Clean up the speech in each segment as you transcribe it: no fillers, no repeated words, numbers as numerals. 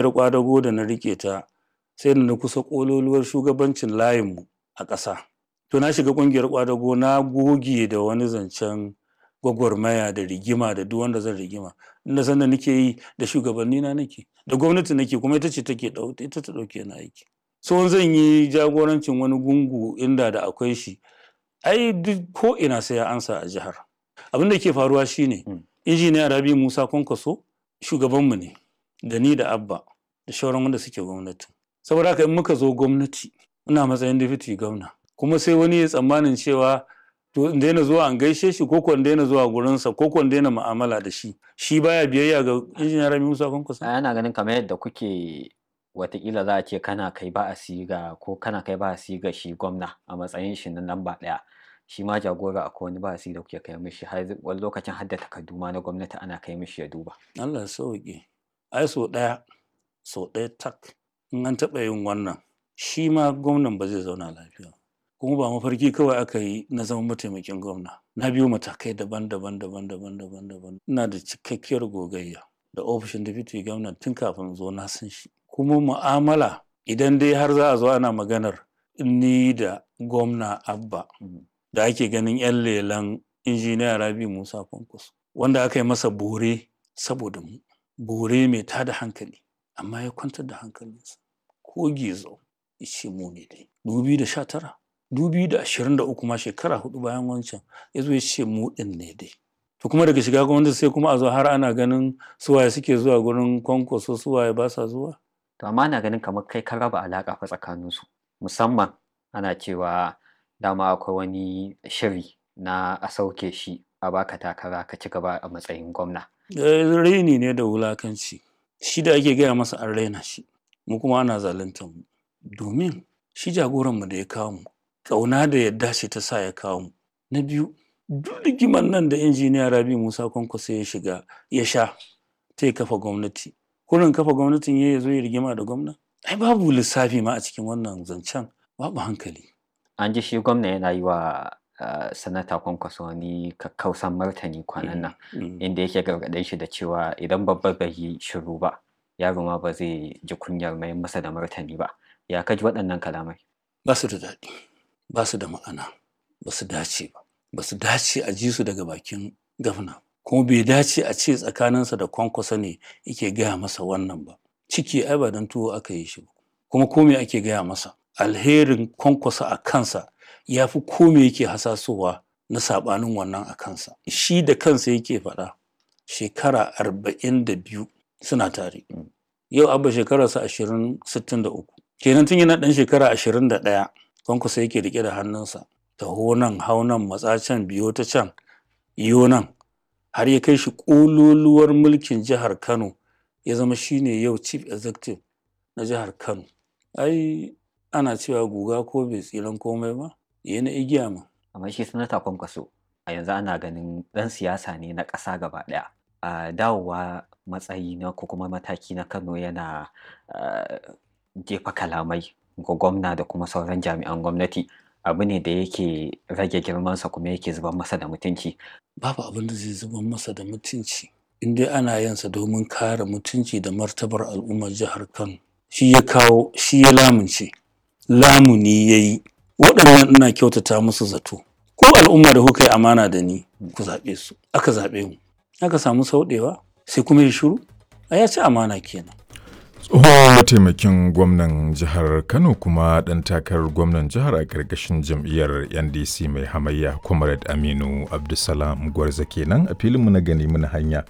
Ƙwadago da na riƙe ta sai da na kusa ƙololuwar shugabancin layinmu a ƙasa. To na shiga ƙungiyar ƙwadago na goge da wani zancen gwagwarmaya da rigima da duk wanda zan rigima. Inda sanda nake yi da shugabannina nake, da gwamnati nake kuma ita ce take ita ta ɗauke ni aiki. So zan yi jagorancin wani gungu inda da akwai shi, ai duk ko ina sai ya ansa a jihar. Abin da ke faruwa shine Injiniya Rabi Musa Kwankwaso shugabanmu ne da ni da Abba da shauran wanda suke gwamnati. Saboda haka in muka zo gwamnati ina matsayin deputy gwamna kuma sai wani ya tsammanin cewa to in daina zuwa an gaishe shi ko ko in daina zuwa gurinsa ko ko in daina mu'amala da shi. Shi baya biyayya ga Injiniya Rabi Musa Kwankwaso. Ana ganin kamar yadda kuke watakila za a ce kana kai ba'asi ga ko kana kai ba'asi ga shi gwamna a matsayin shi na lamba ɗaya. Shi ma jagora akwai wani ba'asi da kuke kai mishi har wani lokacin har da takardu ma na gwamnati ana kai mishi ya duba. Allah ya sauke. Ai sau ɗaya, sau ɗaya tak in an taɓa yin wannan shi ma gwamnan ba zai zauna lafiya ba. Kuma ba mafarki kawai aka yi na zama mataimakin gwamna. Na biyo matakai daban daban daban daban daban daban. Ina da cikakkiyar gogayya da ofishin deputy gwamna tun kafin in zo na san shi. Kuma mu'amala idan dai har za a zo ana maganar ni da gwamna Abba da ake ganin 'yan lelan Injiniya Rabi Musa Kwankwaso wanda aka yi masa bore saboda mu. Bore mai tada hankali amma ya kwantar da hankalinsa. Ko gizo ya ce mu ne dai. 2019, 2023 ma shekara huɗu bayan wancan ya zo ya ce mu ɗin ne dai. To kuma daga shiga gwamnati sai kuma a zo har ana ganin su waye suke zuwa gurin Kwankwaso su waye ba sa zuwa. To amma ana ganin kamar kai ka raba alaƙa fa tsakaninsu musamman ana cewa dama akwai wani shiri na a sauke shi a baka takara ka ci gaba a matsayin gwamna. Raini ne da wulakanci. Shi da ake gaya masa an raina shi, mu kuma ana zaluntar mu. Domin shi jagoranmu da ya kawo mu, ƙauna da yadda ce ta sa ya kawo mu. Na biyu, duk rigimar nan da Injiniya Rabi Musa Kwankwaso ya shiga ya sha ta ya kafa gwamnati. Kurin kafa gwamnatin ya zo ya rigima da gwamna? Ai babu lissafi ma a cikin wannan zancen, babu hankali. An ji shi gwamna yana yi wa sanata Kwankwaso wani kakkausan martani kwanan nan inda yake gargaɗin shi da cewa idan babba bai yi shiru ba yaro ma ba zai ji kunyar mayar masa da martani ba. Ya ka ji waɗannan kalamai? Ba su da daɗi, ba su da ma'ana, ba su dace ba. Ba su dace a ji su daga bakin gwamna. Kuma bai dace a ce tsakaninsa da Kwankwaso ne yake gaya masa wannan ba. Ciki ai ba don tuwo aka yi shi ba. Kuma ko me ake gaya masa? Alherin Kwankwaso a kansa ya fi ko me yake hasasowa na saɓanin wannan a kansa. Shi da kansa yake faɗa shekara 42 suna tare. Yau Abba shekararsa 20 63. Kenan tun yana ɗan shekara 21 Kwankwaso yake riƙe da hannunsa. Taho nan, hau nan, matsa can, biyo ta can, iyo nan. Har ya kai shi ƙololuwar mulkin jihar Kano ya zama shine yau chief executive na jihar Kano. Ai ana cewa guga ko bai tsiran komai ba, yayi na igiya ma. Amma shi sanata Kwankwaso a yanzu ana ganin ɗan siyasa ne na ƙasa gaba ɗaya. A dawowa matsayi na ko kuma mataki na Kano yana jefa kalamai ga gwamna da kuma sauran jami'an gwamnati abu ne da yake rage girmansa kuma yake zubar masa da mutunci. Babu abin da zai zubar masa da mutunci in dai ana yin sa domin kare mutunci da martabar al'ummar jihar Kano. Shi ya kawo, shi ya lamunce, lamuni ya yi. Waɗannan ina kyautata musu zato. Ko al'umma da kuka yi amana da ni ku zaɓe su, aka zaɓe mu. Aka samu sauɗewa sai kuma ya shiru? Ai ya ci amana kenan. Tsohon mataimakin gwamnan jihar Kano kuma ɗan takarar gwamnan jihar a ƙarƙashin jam'iyyar NDC mai hamayya Comrade Aminu Abdulsalam Gwarza kenan a filinmu na gani muna hanya.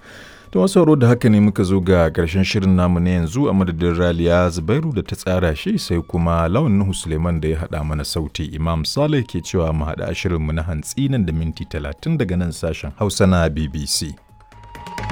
Da wasu sauraro da haka ne muka zo ga ƙarshen shirin namu na yanzu a madadin Raliya Zubairu da ta tsara shi sai kuma Lawan Nuhu Suleiman da ya haɗa mana sauti Imam Saleh ke cewa mu haɗa shirinmu na hantsi nan da minti 30 daga nan sashen Hausa na BBC.